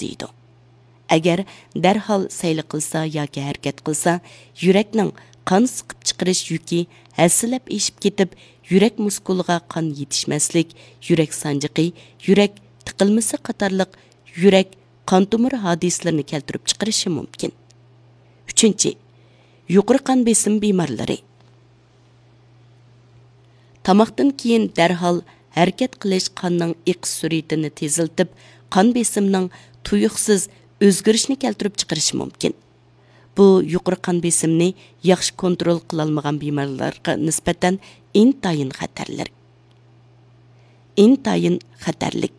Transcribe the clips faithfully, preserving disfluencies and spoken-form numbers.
ئاستىيدۇ. ئەگەر دەرھال سەيلە قىلسا ياكى ھەرىكەت قىلسا، يۈرەكنىڭ قان سىقىپ چىقىرىش يۈكى ھەسسىلەپ ئېشىپ كېتىپ، يۈرەك مۇسكۇلىغا قان يېتىشمەسلىك، يۈرەك سانجىقى، يۈرەك تىقىلمىسى قاتارلىق يۈرەك قان تومۇر ھادىسىلىرىنى كەلتۈرۈپ چىقىرىشى مۇمكىن. ئۈچىنچى، يۇقىرى قان بېسىم بىمارلىرى. تاماقتىن كېيىن دەرھال ھەرىكەت قىلىش قاننىڭ ئېقىش سۈرئىتىنى تېزلىتىپ، قان بېسىمنىڭ تۇيۇقسىز ئۆزگىرىشىنى كەلتۈرۈپ چىقىرىشى مۇمكىن. بۇ يۇقىرى قان بېسىمنى ياخشى كونترول قىلالمىغان بىمارلارغا نىسبەتەن ئىنتايىن خەتەرلىك. ئىنتايىن خەتەرلىك.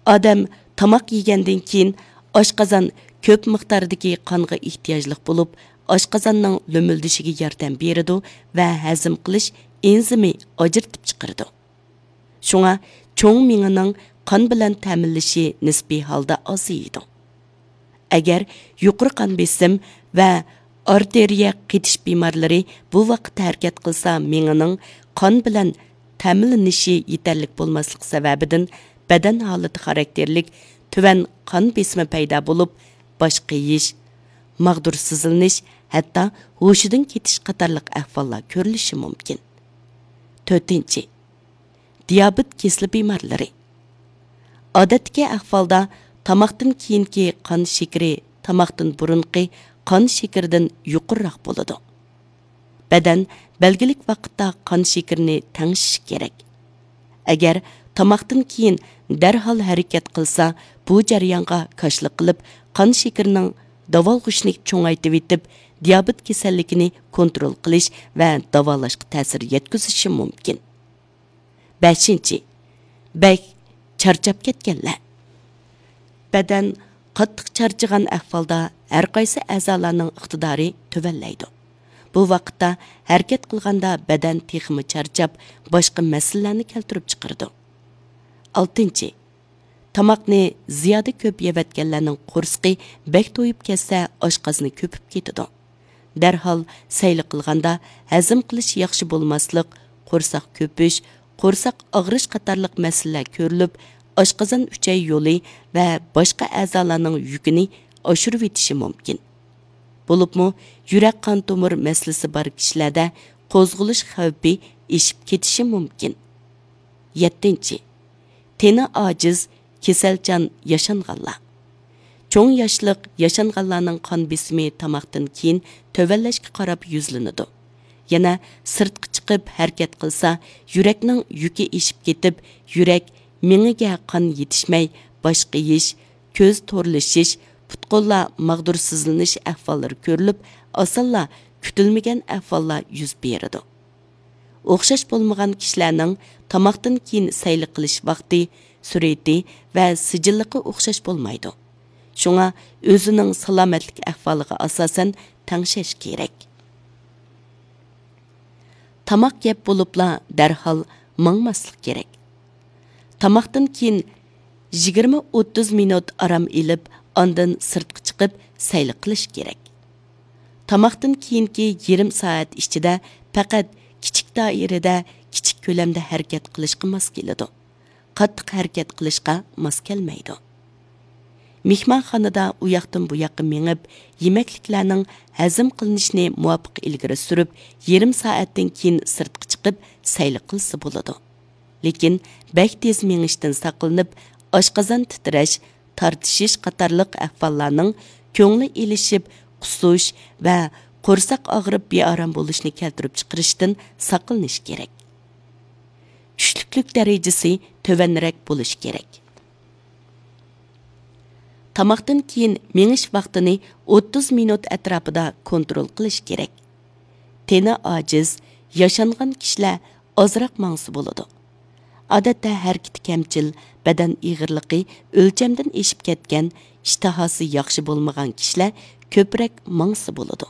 ئادەم تاماق يېگەندىن كېيىن ئاشقازان كۆپ مىقداردىكى قانغا ئېھتىياجلىق بولۇپ، ئاشقازاننىڭ لۆمۈلدىشىگە ياردەم بېرىدۇ ۋە ھەزىم قىلىش ئېنزىمى ئاجرىتىپ چىقىرىدۇ. شۇڭا چوڭ مېڭىنىڭ قان بىلەن تەمىنلىشى نىسپىي ھالدا ئازىيىدۇ. ئەگەر يۇقىرى قان بېسىم ۋە ئارتېرىيە قېتىش بىمارلىرى بۇ ۋاقىتتا ھەرىكەت قىلسا، مېڭىنىڭ قان بىلەن تەمىنلىنىشى يېتەرلىك بولماسلىقى سەۋەبىدىن، بەدەن ھالىتى خاراكتېرلىك تۆۋەن قان بېسىمى پەيدا بولۇپ، باش قېيىش، ماغدۇر سىزلىنىش، ھەتتا ھوشىدىن كېتىش قاتارلىق ئەھۋاللار كۆرۈلۈشى مۇمكىن. تۆتىنچى، دىيابېت كېسىلى بىمارلىرى. ئادەتتىكى ئەھۋالدا تاماقتىن كېيىنكى قان شېكىرى تاماقتىن بۇرۇنقى قان شېكىرىدىن يۇقىرىراق بولىدۇ. بەدەن بەلگىلىك ۋاقىتتا قان شېكىرىنى تەڭشىشى كېرەك. ئەگەر تاماقتىن كېيىن دەرھال ھەرىكەت قىلسا، بۇ جەريانغا كاشىلا قىلىپ، قان شېكىرىنىڭ داۋالغۇشىنى چوڭايتىۋېتىپ، دىيابېت كېسەللىكىنى كونترول قىلىش ۋە داۋالاشقا تەسىر يەتكۈزۈشى مۇمكىن. بەشىنچى، بەك چارچاپ كەتكەنلەر. بەدەن قاتتىق چارچىغان ئەھۋالدا ھەرقايسى ئەزالارنىڭ ئىقتىدارى تۆۋەنلەيدۇ. بۇ ۋاقىتتا ھەرىكەت قىلغاندا بەدەن تېخىمۇ چارچاپ، باشقا مەسىلىلەرنى كەلتۈرۈپ چىقىرىدۇ. ئالتىنچى، تاماقنى زىيادە كۆپ يەۋەتكەنلەرنىڭ قورسىقى بەك تويۇپ كەتسە، ئاشقازىنى كۆپۈپ كېتىدۇ. دەرھال سەيلە قىلغاندا ھەزىم قىلىش ياخشى بولماسلىق، قورساق كۆپۈش، قورساق ئاغرىش قاتارلىق مەسىلىلەر كۆرۈلۈپ، ئاشقازان ئۈچەي يولى ۋە باشقا ئەزالارنىڭ يۈكىنى ئاشۇرۇۋېتىشى مۇمكىن. بولۇپمۇ يۈرەك قان تومۇر مەسىلىسى بار كىشىلەردە قوزغىلىش خەۋپى ئېشىپ كېتىشى مۇمكىن. يەتتىنچى، تېنى ئاجىز، كېسەلچان ياشانغانلار. چوڭ ياشلىق ياشانغانلارنىڭ قان بېسىمى تاماقتىن كېيىن تۆۋەنلەشكە قاراپ يۈزلىنىدۇ. يەنە سىرتقا چىقىپ ھەرىكەت قىلسا، يۈرەكنىڭ يۈكى ئېشىپ كېتىپ، يۈرەك مېڭىگە قان يېتىشمەي، باش قېيىش، كۆز تورلىشىش، پۇت-قوللار ماغدۇرسىزلىنىش ئەھۋاللىرى كۆرۈلۈپ، ئاسانلا كۈتۈلمىگەن ئەھۋاللار يۈز بېرىدۇ. ئوخشاش بولمىغان كىشىلەرنىڭ تاماقتىن كېيىن سەيلە قىلىش ۋاقتى، سۈرئىتى ۋە سىجىللىقى ئوخشاش بولمايدۇ. شۇڭا ئۆزىنىڭ سالامەتلىك ئەھۋالىغا ئاساسەن تەڭشەش كېرەك. تاماق يەپ بولۇپلا دەرھال ماڭماسلىق كېرەك. تاماقتىن كېيىن يىگىرمە ئوتتۇز مىنۇت ئارام ئېلىپ، ئاندىن سىرتقا چىقىپ سەيلە قىلىش كېرەك. تاماقتىن كېيىنكى يېرىم سائەت ئىچىدە پەقەت كىچىك دائىرىدە، كىچىك كۆلەمدە ھەرىكەت قىلىشقا ماس كېلىدۇ. قاتتىق ھەرىكەت قىلىشقا ماس كەلمەيدۇ. مېھمانخانىدا ئۇياقتىن بۇياققا مېڭىپ، يېمەكلىكلەرنىڭ ھەزىم قىلىنىشىنى مۇۋاپىق ئىلگىرى سۈرۈپ، يېرىم سائەتتىن كېيىن سىرتقا چىقىپ سەيلە قىلسا بولىدۇ. لېكىن بەك تېز مېڭىشتىن ساقلىنىپ، ئاشقازان تىترەش، تارتىشىش قاتارلىق ئەھۋاللارنىڭ كۆڭلى ئېلىشىپ، قۇسۇش ۋە قورساق ئاغرىپ بىئارام بولۇشنى كەلتۈرۈپ چىقىرىشتىن ساقلىنىش كېرەك. چۈشلۈكلۈك دەرىجىسى تۆۋەنرەك بولۇشى كېرەك. تاماقتىن كېيىن مېڭىش ۋاقتىنى ئوتتۇز مىنۇت ئەتراپىدا كونترول قىلىش كېرەك. تېنى ئاجىز، ياشانغان كىشىلەر ئازراق ماڭسا بولىدۇ. ئادەتتە ھەرىكىتى كەمچىل، بەدەن ئېغىرلىقى ئۆلچەمدىن ئېشىپ كەتكەن، ئىشتىھاسى ياخشى بولمىغان كىشىلەر كۆپرەك ماڭسا بولىدۇ.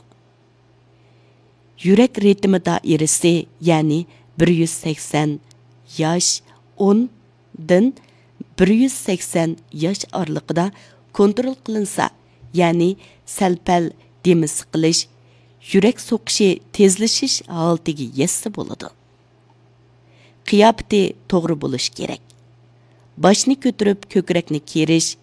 يۈرەك رىتىمى دائىرىسى، يەنى بىر يۈز سەكسەن ياش، ئوندىن بىر يۈز سەكسەن ياش ئارىلىقىدا كونترول قىلىنسا، يەنى سەل-پەل دېمى سىقىلىش، يۈرەك سوقۇشى تېزلىشىش ھالىتىگە يەتسە بولىدۇ. قىياپىتى توغرا بولۇشى كېرەك. باشنى كۆتۈرۈپ كۆكرەكنى كېرىش،